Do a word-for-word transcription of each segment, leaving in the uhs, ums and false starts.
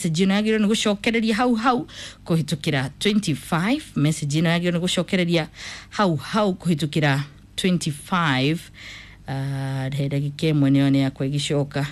Message ĩno yagĩrĩirwo nĩ gũcokereria hau hau kũhĩtũkĩra twenty-five. Message ĩno yagĩrĩirwo nĩ gũcokereria hau hau kũhĩtũkĩra twenty-five. uh, he ndagĩka ĩmwe nĩyo nĩ yakwa ĩgĩcoka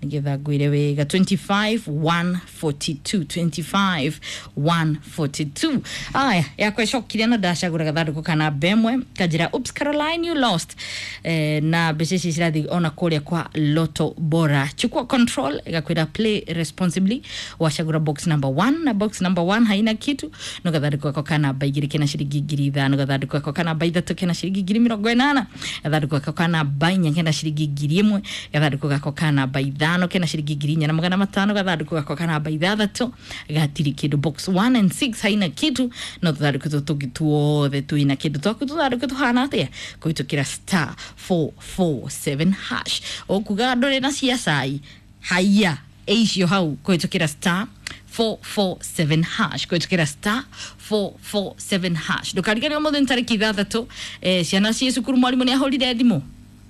nigetha ngwire wega. twenty-five one forty-two, twenty-five one forty-two. Aya, yakwa ĩcokire na ndacagũra gathandũkũ kana namba ĩmwe kanjĩra, "Oops, Caroline, you lost." Eh, na mbeca ici cirathiĩ ona kũrĩa kwa Lotto Bora. Chukua control, ĩgakwĩra play responsibly. Wacagũra box number one, na box number one haina kitu. No gathandũkũ gako ka namba igĩrĩ kena ciringi ngiri ithano, gathandũkũ gako ka namba ithatũ kena ciringi ngiri mĩrongo ĩnana, gathandũkũ gako ka namba inya kena ciringi ngiri ĩmwe, gathandũkũ gako ka namba ithano kena ciringi ngiri inya na magana matano, gathandũkũ gako ka namba ithathatũ gatirĩ kĩndũ. Box one and six haina kitu, no tũthandũkũ tũtũ tũngĩ tuothe twĩna kĩndũ. Twaku tũthandũkũ tũhana atĩa? Kũhĩtũkĩra star four four seven hash. Ũkuga ndũrĩ na cia cai, haiya ĩicio hau kũhĩtũkĩra star four four seven hash, kũhĩtũkĩra star four four seven hash. Ndũkariganĩrwo mũthĩ nĩ tarĩki ithathatũ. eh, ciana ciĩ cukuru, mwarimũ nĩ ahũrire thimũ,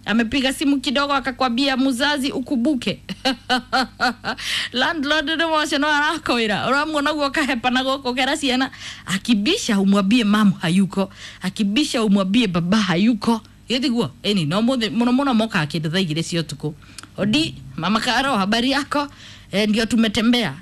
amepiga simu kidogo akakwambia muzazi ukumbuke landlord nĩ wacio no arakwĩra ũramuona guo kahepa na gũkũ kera ciana akibisha umwambie mamu hayuko, akibisha umwambie baba hayuko. Gĩthiguo ĩni no mũthĩ mũno mũno mokaga kĩndũ thaa igĩrĩ cia ũtukũ. "Odi, mama Karo, habari yako?" Eh, ndio tumetembea.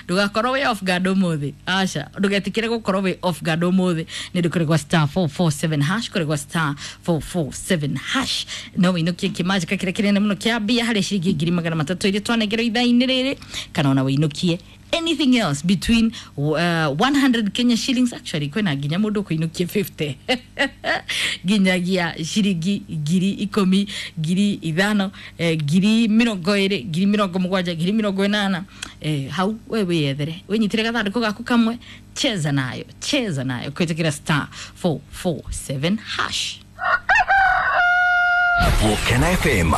Ndugakorwo wĩ off guard ũmũthĩ, aca, ndũgetikĩre gũkorwo wĩ off guard ũmũthĩ nĩ ũndũ kũrĩ gwa star four four seven hash, kũrĩ gwa star four four seven hash no wĩinũkie kĩmanjĩka kĩrĩa kĩnene mũno kĩa mbia harĩ ciringi ngiri magana matatũ iria twanengerwo ithaa-inĩ rĩrĩ, kana ona wĩinũkie anything else between uh, one hundred Kenya shillings. Actually, kwĩna nginya mũndũ ũkũinũkia fifty nginyagia ciringi ngiri ikũmi, ngiri ithano, eh, ngiri mĩrongo ĩrĩ, ngiri mĩrongo mũgwanja, ngiri mĩrongo ĩnana. eh, hau we wĩyethere, wĩnyitĩre gathandũkũ gaku kamwe, cheza nayo, cheza nayo kũhĩtũkĩra star four four seven hash. Volcano F M.